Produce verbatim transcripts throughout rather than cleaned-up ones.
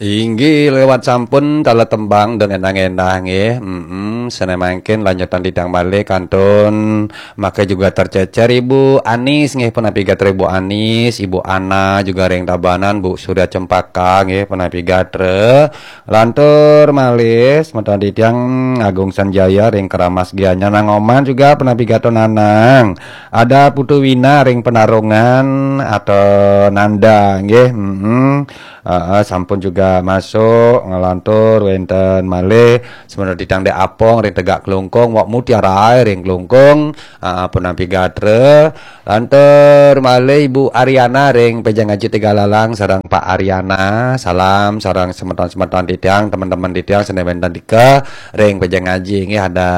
Inggih, lewat sampun tala tembang dan endah-endah nggih. Mm-mm, sane mangkin lanjutan titiang malih kantun mangke juga tercecer Ibu Anis nggih, punapi gatra Ibu Anis, Ibu Ana juga ring Tabanan, Bu Surya Cempaka nggih, punapi gatra. Lantur malih semeton titiang Agung Sanjaya ring Keramas Gianyar, Nang Oman juga punapi gatra Nanang. Ada Putu Wina ring Penarungan atau Nanda nggih. Mm-mm. Heeh, sampun juga masuk, ngelantur wenten malih semeton titiang Dek Apong ring Tegak Klungkung, Wak Mutiara ring Klungkung, heeh, punapi gatra. Lantur malih Ibu Ariana ring Pejang Aji Tegalalang sareng Pak Ariana. Salam sareng semeton-semeton titiang, teman-teman titiang sane wenten dika ring Pejang Aji nggih, ada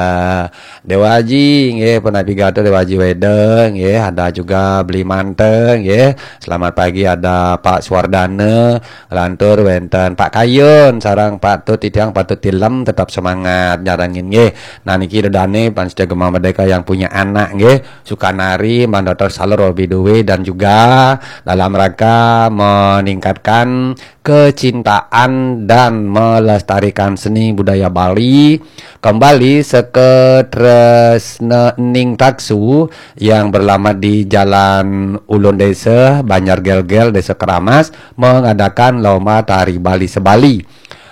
Dewa Aji nggih, punapi gatra Dewa Aji Weda nggih, ada juga Beli Mante nggih. Selamat pagi ada Pak Suwardana, lantur wenten Pak Kayun sareng Pak Tut titiang, Pak Tut Tilem, tetap semangat nyarengin nggih. Nah niki ida dane pamiarsa Gema Merdeka yang punya anak nggih, Sukanari, Mandotor Salur Robi Dwi dan juga dalam rangka meningkatkan kecintaan dan melestarikan seni budaya Bali, kembali Seke Tresna Ning Taksu yang beralamat di Jalan Ulun Desa, Banjar Gelgel, Desa Keramas, mengadakan lomba tari Bali sebali.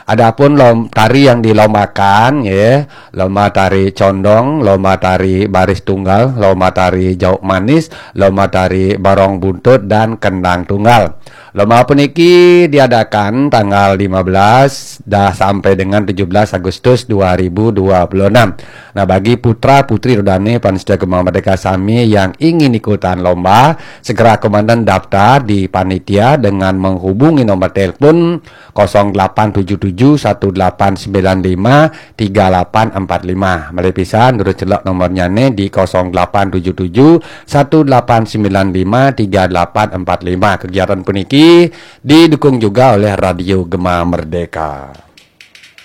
Adapun lom, tari yang dilombakan, ya, lomba tari condong, lomba tari baris tunggal, lomba tari jauk manis, lomba tari barong buntut, dan kendang tunggal. Lomba puniki diadakan tanggal lima belas dah sampai dengan tujuh belas Agustus dua ribu dua puluh enam. Nah, bagi putra putri ida dane pamiarsa Gema Merdeka sami yang ingin ikutan lomba, segera komandan daftar di panitia dengan menghubungi nomor telepon kosong delapan tujuh tujuh satu delapan sembilan lima tiga delapan empat lima. Malih pisan, durus celek nomornyane di kosong delapan tujuh tujuh satu delapan sembilan lima tiga delapan empat lima. Kegiatan puniki didukung juga oleh Radio Gema Merdeka.